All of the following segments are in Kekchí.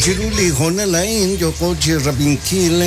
Chiru li hoonal a'in yooko chi rab'inkil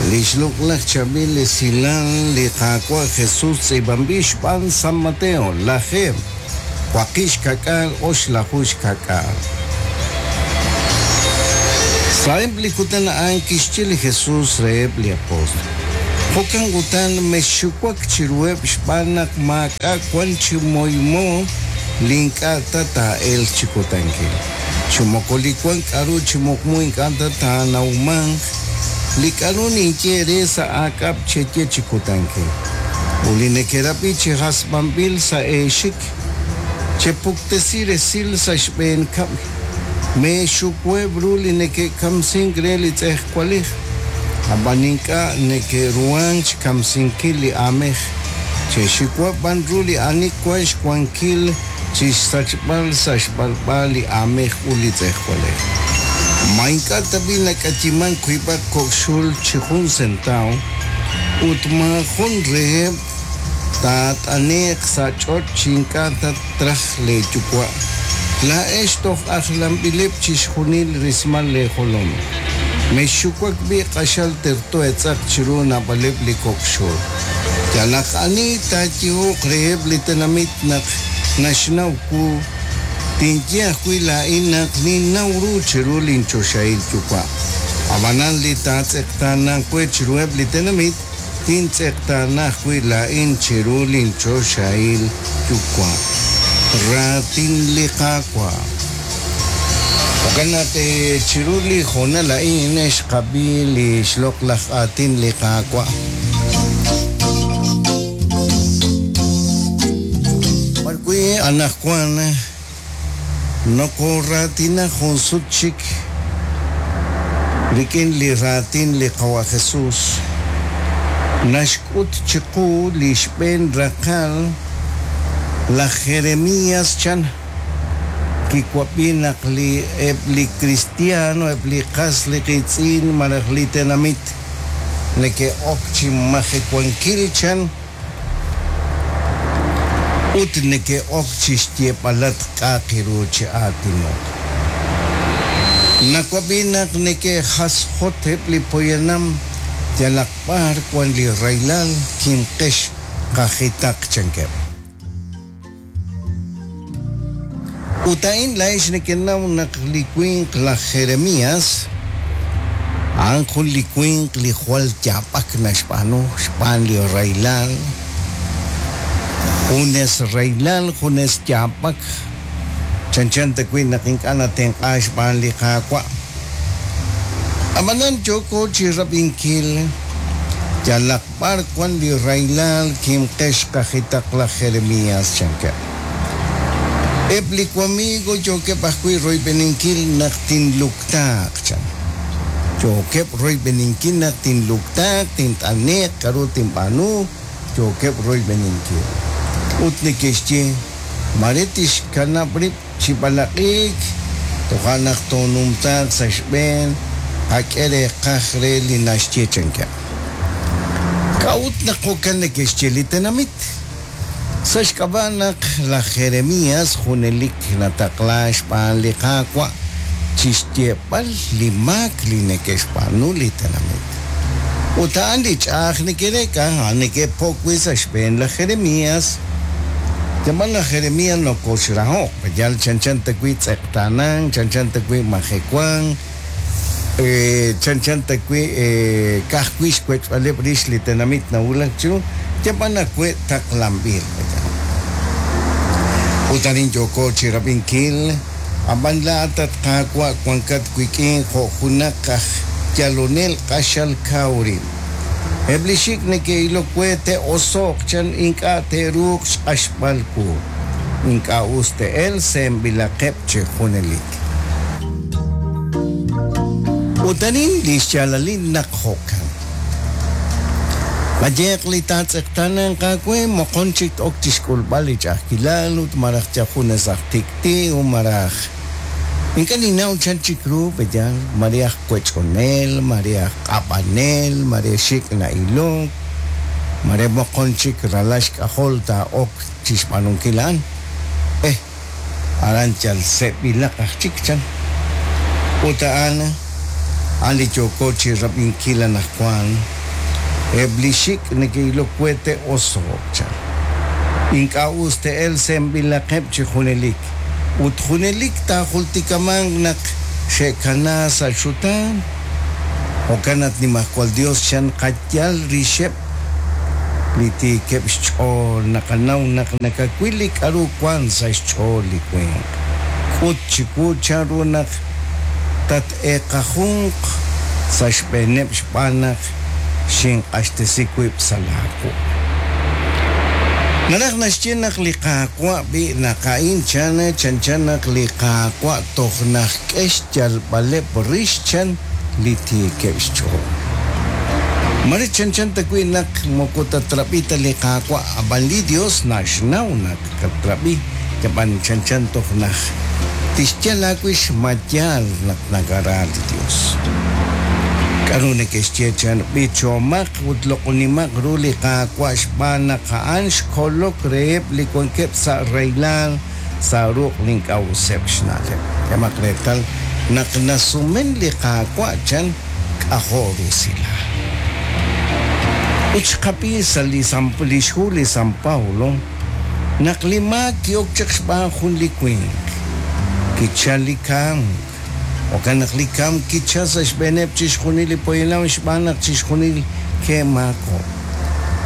li xloq'laj chaab'il esilal li Qaawa' Jesus tz'iib'anb'il xb'aan San Mateo, lajeeb', 960. Sa'eb' li kutan a'an kixye li Jesus reheb' li apóstol, Jo'kan utan mexxuwak chiruheb' xb'aan naq maak'a' wank chi moymo li ink'a' ta taa'elq chi kutankil, chi moko li wank k'aru chi muqmu ink'a' ta taanawmanq. Li k'aru ninye eere sa' aak'ab' cheye chi kutankil, ut li nekerab'i chi hasb'anb'il sa' eexik, chepuktesi resil sa' xb'een kab'l. Meexuweb' ru li neke'kamsink re li tz'ejwalej, ab'an ink'a' neke'ruhank xkamsinkil li aamej. Che'xiwa b'an ru li ani wank xwankil chi xsachb'al sa' xb'alb'a li aamej ut li tz'ejwalej. Ma ink'a' tab'i' nak'ayimank wiib'aq kok' xul chi jun sentaaw, ut maajun reheb' taat'ane'q sa' ch'och' chi ink'a' ta traj leeyuwa'? Laa'ex toj ajlanb'ileb' chixjunil rismal leejolom. Mexxuwak b'i' q'axal terto eetz'aq chiru naab'aleb' li kok' xul. Yalaq ani taayehoq reheb' li tenamit naq naxnaw wu, tinye ajwi' laa'in naq ninnaw ru chiru linchoxahil Yuwa'. Ab'anan li taatz'eqtaananq we chiruheb' li tenamit, tintz'eqtaana ajwi' laa'in chiru linchoxahil Yuwa'. Raatin li Qaawa'. Jo'kan naq chiru li hoonal a'in xqab'i li xloq'laj aatin li Qaawa'. B'arwi' anaqwan nokooraatina jun sut chik rik'in li raatin li Qawa' Jesus, naxk'ut chiqu li xb'een raqal laj Jeremias chan, Kiwab'i naq li eb' li kristiano, eb' li qas li qiitz'in malaj li tenamit neke'ok chi majewankil chan ut neke'ok chi xyeeb'alatq k'a'aq ru chi aatinok. Nawab'i naq neke'jasjot eb' li poyanam yalaq b'ar wan li rahilal kimqex qajitaq chankeb'. Ut a'in laa'ex nekenaw naq li winq laj Jeremías, a'an jun li winq li jwal yaab'ak naxb'aanu xb'aan li rahilal, junes rahilal, junes yaab'ak, chanchan ta wi' naq ink'a' natenq'aak xb'aan li Qaawa'. Ab'anan yooko chi rab'inkil yalaq B'ar wank li rahilal kimqex qajitaq laj Jeremías? chankeb'. Eb' li wamiigo yookeb' ajwi' royb'eninkil naq tinluktaaq, chan. Yookeb' royb'eninkil naq tinluktaaq, tint'ane'q, k'aru tinb'aanu, yookeb' royb'eninkil. Ut neke'xye, Mare tixkanab' rib' chi b'alaq'iik, toja' naq toonumtaaq sa' xb'een, qak'e reeqaj re li naxye, chankeb'. K'a'ut naq jo'kan neke'xye li tenamit? Sa' xk'ab'a' naq laj Jeremías junelik nataqlaak xb'aan li Qaawa' chi xyeeb'al li maak li neke'xb'aanu li tenamit. Ut a'an li ch'a'aj neke'reek'a, a'an neke'po'k wi' sa' xb'een laj Jeremías. Yaab'al laj Jeremías nokoxraho'q, yal chanchan ta wi' tz'eqtaanank, chanchan ta wi' majewank, chanchan ta wi' ka'ajwi' xwech'b'aleb' rix li tenamit nawulak chiru, yaab'al awe' taqlanb'il. Ut arin yooko chi rab'inkil. Ab'an laa'at, at Qaawa', wankat wik'in jo' junaq aj yalonel q'axal kaw rib'. Eb' li xik' neke'ilok we te'oso'q chan ink'a' te'ruuq xq'axb'al wu. Ink'a' us te'elq seemb'ilaqeb' chi junelik. Ut arin li xyaalalil naq jo'kan. Qayehaq li taatz'eqtaananq aawe moqon chik t-ok chi xk'ulb'al li ch'a'ajkilal ut malaj yal junes aj tik'ti' u malaj ink'a' ninnaw chan chik ru pe'yaal, mare aj wech'onel, mare aj q'ab'anel, mare xik' na'ilok, mare moqon chik ralal xk'ajol taa'ok chi xb'aanunkil a'an. Eh! Aran yal se'b'ilaq aj chik, chan. Ut a'an, a'an li yooko chi rab'inkil anaqwan, Eb' li xik' neke'ilok we te'oso'q, chan. Ink'a' us te'elq se'enb'ilaqeb' chi junelik, ut junelik taajultikamanq naq xe'kana sa' xutaan. Jo'kan at Nimajwal Yos, chan, qayal rixeb' li tiikeb' xch'ool, naqanaw naq nakawil li k'aru wank sa' xch'ool li winq. K'ut chiwu chanru naq tat-eeqajunq sa' xb'eeneb' xb'aan naq xinq'axtesi wib' sa' laawuq'. Naraj naxye naq li Qaawa' b'i' naq a'in chan chanchan naq li Qaawa' toj najk'e xyalb'aleb' rix chan li tiikeb' xch'ool. Mare chanchan ta wi' naq moko tatrab'i ta li Qaawa', ab'an li Yos naxnaw naq katrab'i, ab'an chanchan toj naj tixyal aawix ma yaal naq nakara li Yos. K'aru neke'xye chan? B'ichomaq ut loq'onimaq ru li Qaawa' xb'aan naq a'an xkolok reheb' li wankeb' sa' rahilal sa' ruq' li ink'a' useb' xna'leb'. K'ehomaq reetal naq nasumen li Qaawa' chan k'ajo' rusilal. Ut xqab'i sa' li xhu li San Pablo naq li maak ki'ok chaq xb'aan jun li winq, kichal li kamk. Jo'kan naq li kamk kichal sa' xb'eeneb' chixjunil li poyanam xb'aan naq chixjunil ke'maakob'k.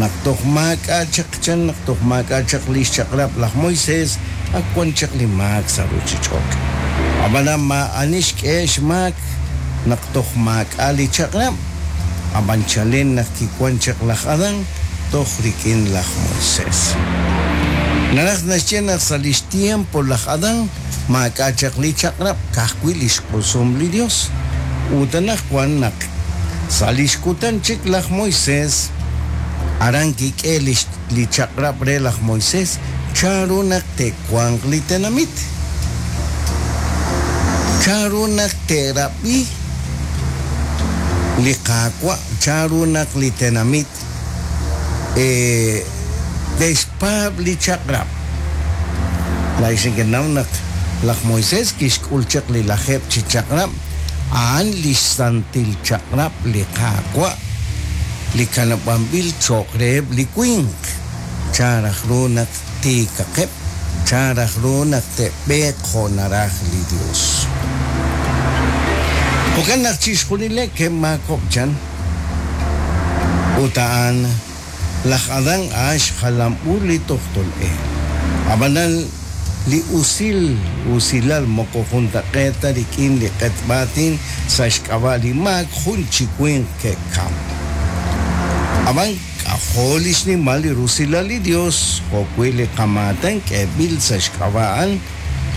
Naq toj maak'a' chaq chan naq toj maak'a' chaq li xchaq'rab' laj Moisés, ak wan chaq li maak sa' ruuchich'och'. Ab'anan maa'ani xk'ehe' xmaak naq toj maak'a' li chaq'rab', ab'an chalen naq kiwank chaq laj Adán toj rik'in laj Moisés. Naraj naxye naq sa' li xtiempo laj Adán maak'a' chaq li chaq'rab' ka'ajwi' li xq'usum li Yos. Ut anaqwan naq sa' li xkutan chik laj Moisés, aran kik'e li chaq'rab' re laj Moisés chanru naq te'wanq li tenamit, chanru naq te'rab'i li Qaawa', chanru naq li tenamit te'xpaab' li chaq'rab'. Laa'ex nekenaw naq laj Moisés kixk'ul chaq li lajeeb' chi chaq'rab', a'an li xsantil chaq'rab' li Qaawa' li kanab'anb'il cho'q reheb' li winq, chan raj ru naq tiikaqeb', chan raj ru naq te'b'eeq jo' naraj li Yos. Jo'kan naq chixjunileb' ke'maakob'k chan. Ut a'an, laj Adán a'an xjalam u li tojtol e. Ab'anan, li usil usilal moko juntaq'eet ta rik'in li q'etb'aatin sa' xk'ab'a' li maak jun chi winq ke'kamk. Ab'an, k'ajo' li xnimal li rusilal li Yos jo'wi' li qamaatan k'eeb'il sa' xk'ab'a' a'an,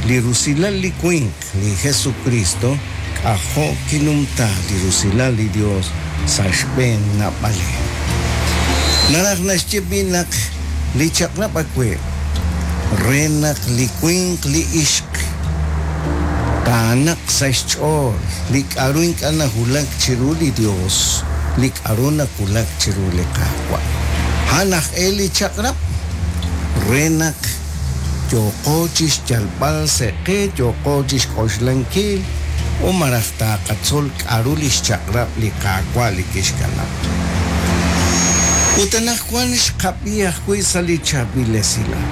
li rusilal li winq, li Jesukristo, k'ajo' kinumta li rusilal li Yos sa' xb'een naab'aleb'. Naraj naxye b'i' naq li chaq'rab' awe' re naq li winq li ixq taanaq sa' xch'ool li k'a'ru ink'a' nawulak chiru li Yos, li k'a'ru nawulak chiru li Qaawa'. A'an aj e li chaq'rab' re naq yooqo chi xyalb'al sa' qe, yooqo chi xk'oxlankil u malaj taaqatzol k'a'ru li xchaq'rab' li Qaawa' li kixkanab'. Ut anaqwan xqab'i ajwi' sa' li chaab'il esilal.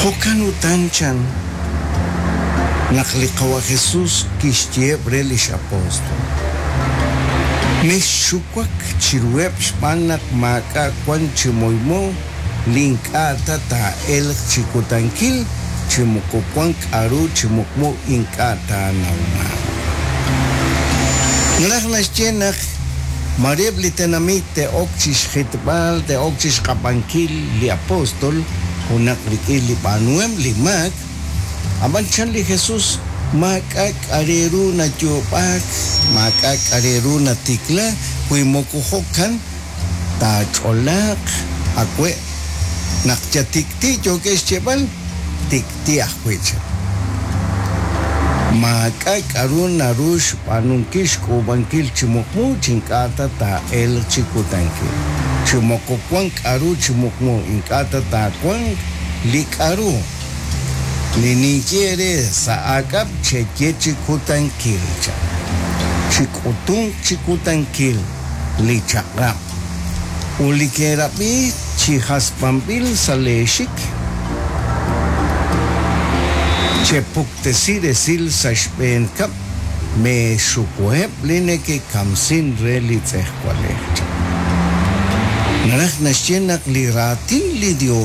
Jo'kan utan chan naq li Qawa' Jesús kixyeheb' re li x'apóstol, Mexxuwak chiruheb' xb'aan naq maak'a' wank chi moymo li ink'a' ta taa'elq chi kutankil chi moko wank k'a'ru chi muqmu ink'a' taanawmanq. Naraj naxye naq maare eb' li tenamit te'ok chi xjitb'al, te'ok chi xq'ab'ankil li apóstol junaq rik'in li b'aanuhem li maak, ab'an chan li Jesús maak'a' k'a' re ru nayoob'aak, maak'a' k'a' re ru natikla wi moko jo'kan taach'olaaq awe' naq yatik'ti' yookeb' xyeeb'al, tik'ti' ajwi' chan. Maak'a' k'aru naru xb'aanunkil xk'uub'ankil chi muqmu chi ink'a' ta taa'elq chi kutankil, chi moko wank k'aru chi muqmu ink'a' ta taawanq li k'aru. Li ninye eere sa' aak'ab' cheye chi kutankil, chan. Chik'utunq chi kutankil li chaq'rab' ut li kerab'i chi hasb'anb'il sa' leexik, chepuktesi resil sa' xb'een kab'l, meexukuheb' li neke'kamsin re li tz'ejwalej, chan. Naraj naxye naq li raatin li Yos.